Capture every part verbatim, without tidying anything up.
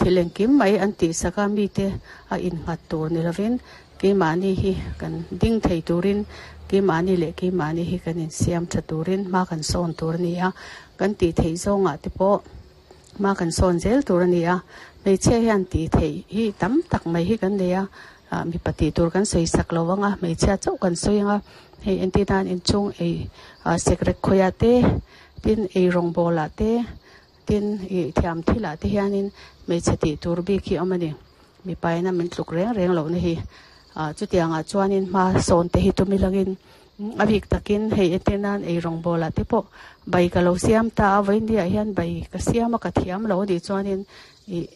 Thil engkim mai an tih sak a, mite a innghat tur ni lovin keimahni hi kan ding thei turin keimahni leh keimahni hi kan insiam tha turin hma kan sawn tur a ni a, kan tih theih zawngah te pawh hma kan sawn zel tur a ni a. Hmeichhia hian tih theih hi tam tak mai hi kan nei a, ah mipa tih tur kan sawi sak lo ang a, hmeichhia chauh kan sawi ang a, hei entir nan inchhung ei ah sekrek khawiah te tin ei rawngbawl ah te tin ih thiam thil ah te hianin hmeichhe tih tur bik hi a awm a ni, mipa ina min tluk reng reng lohna hi ah chutiang ah chuanin hma sawn te hi tum ilangin a bik takin hei entir nan ei rawngbawl ah te pawh bai ka lo siam ta a vawiin ah hian bai ka siam a ka thiam lo anih chuanin ih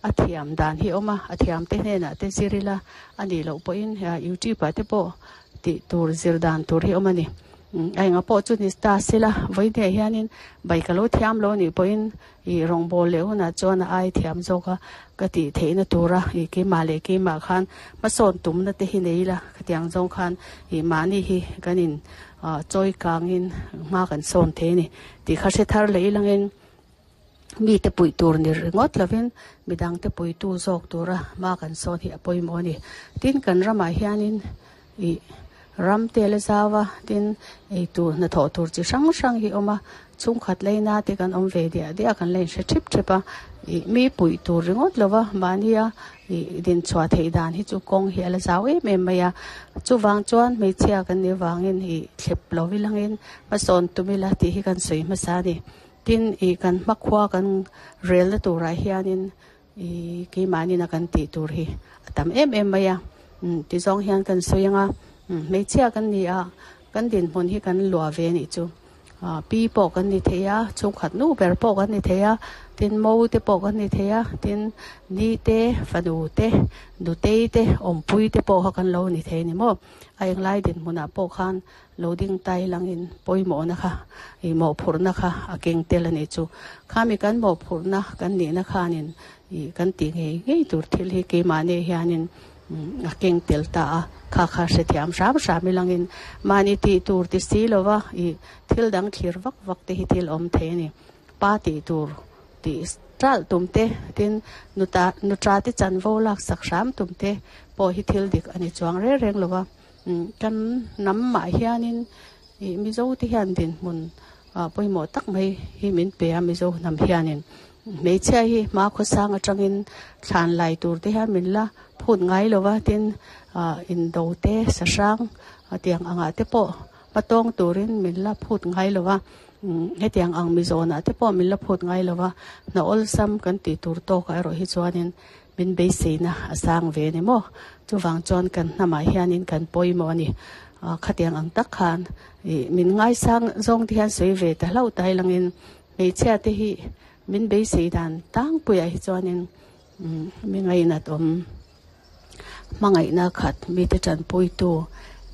a thiam dan hi a awm a, a thiam te hnenah te zir ila anih loh pawhin youtube ah te pawh tih tur zir dan tur hi a awm a ni. A enga pawh chu ni ta sela vawiin ah hianin bai ka lo thiam lo anih pawhin ih rawngbâwl leh hunah chuan a ai thiam zawk a ka tih theihna tura ih keimah leh keimah khan hmasawn tumna te hi nei ila khatiang zawng khan ih mahni hi kan in ah chawi kangin hma kan sawn thei a ni tih kha hre thar leh ilangin mite puih tur ni ringawt lovin midang te puitu zawk tura hma kan sawn hi a pawimawh a ni. Tin kan ramah hianin ih ram te la zau a, tin eitur hnathawh tur chi hrang hrang hi a awm a, chhungkhat leina te kan awm ve diah diah a kan la inhre thip thep a, ih mi puih tur ringawt lova mahnia ih dinchhuah theih dan hi chu kawng hi a la zau em em mai a, chuvang chuan hmeichhia kan nih avangin ih thlep lo ilangin hmasawn tum ila tih hi kan sawi hmasa a ni. Tin ih kan hmakhua kan relna turah hianin ih keimahni na kan tih tur hi a tam em em mai a, umm ti zawng hian kan sawi ang a, umm hmeichhia kan ni a, kan dinhmun hi kan luah ve anih chu. Ah pi pawh kan ni thei a, chhungkhat nu ber pawh kan ni thei a, tin mo te pawh kan ni thei a, tin ni te, fanu te, nutei te, awmpui te pawh kha kan lo ni thei a ni maw. A englai dinhmunah pawh khan lo ding tai langin pawimawhna kha ih mawhphurhna kha a keng tel a nih chu. Khami kan mawhphurhna kan nihna khanin ih kan tih ngei ngei tur thil hi keimahni hianin a keng tel ta a, kha kha hrethiam hram hram ilangin mahni tih tur ti si lova ih thil dang thlir vak vak te hi thil awm thei a ni. Pa tih tur tih ṭalh tum te, tin nuta nuṭa te chanvo laksak hram tum te pawh hi thil dik a ni chuang reng reng lova. Kan hnam mah hianin ih Mizo te hian dinhmun ah pawimawh tak mai hi min pe a, Mizo hnam hianin hmeichhia hi hma khawsang atangin thlan lai tur te hian min la phut ngai lo va, tin ah indo te sahrang tiang angah te pawh hmatawng turin min la phut ngai lo va, hetiang ang mizawnah te pawh min la phut ngai lo va, hna awlsam kan tih tur tawkah erawh hi chuanin min beiseina a sang ve a ni maw? Chuvang chuan kan hnamah hianin kan pawimawh a ni. Khatiang ang tak khan ih min ngaisang zawng te hian sawi ve ta hlauh ta ilangin hmeichhia te hi min beisei dan tlangpuiah hi chuanin mi ngainat awm hmangaihna khat mite tanpuitu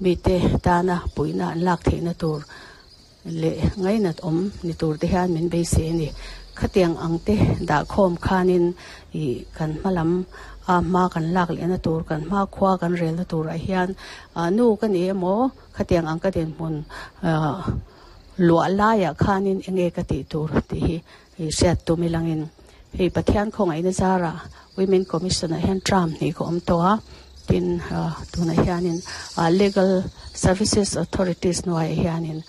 mite tana puihna an lak theihna tur leh ngainat awm ni tur te hian min beisei a ni. Khatiang ang te dahkhawm khanin ih kan hma lam a hma kan lak lehna tur kan hma khua kan relna turah hian ah nu ka ni emaw khatiang ang ka dinhmun ah luah laiah khanin eng nge ka tih tur tih hi ih hriat tum ilangin hei Pathian khawngaihna zarah Women Commission ah hian term hnih ka awm tawh a, tin ah tunah hianin ah Legal Services Authorities hnuaiah hianin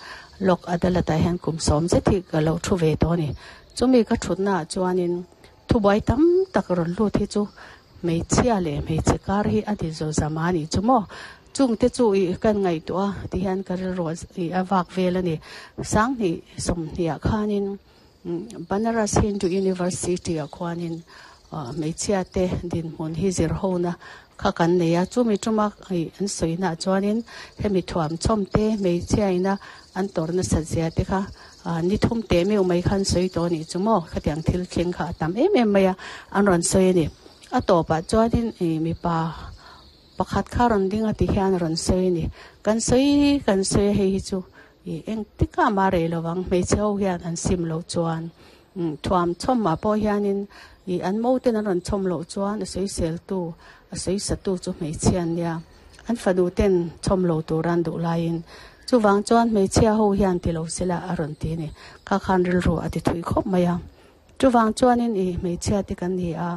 Lok Adalat ah hian kum sawm zet hi ka lo thu ve tawh a ni. Chumi ka thutna ah chuanin thubuai tam tak rawn lut hi chu hmeichhia leh hmeichhe kar hi a ni zo zam a nih chu maw. Chungte chu ih kan ngaihtuah a ti hian ka rilru ih a vak vel a ni. Sanghnih sawmhnih ah khanin Banaras Hindu University ah khuanin hmeichhia te dinhmun hi zir hona kha kan nei a, chumi tuma ih an sawina ah chuanin hemi thuam chhawm te hmeichhia ina an tawrh nasat zia te kha ah ni thum teh meuh mai khan sawi tawh a nih chu maw, khatiang thil thleng kha a tam em em mai a, an rawn sawi a ni. A tawpah chuanin ih mipa pakhat kha rawn ding a ti hian a rawn sawi a ni. Kan sawi kan sawi a hei hi chu ih engtikah mah rei lovang hmeichhe ho hian an sim loh chuan thuam chhawmah pawh hianin ih an mo ten an rawn chhawm loh chuan a sawiseltu a sawisatu chu hmeichhia an nia, an fanu ten chhawm lo tura an duh laiin chuvang chuan hmeichhia ho hian ti lo sela a rawn ti a ni. Kha khan rilru a ti thui khawp mai a, chuvang chuanin ih hmeichhia te kan ni a.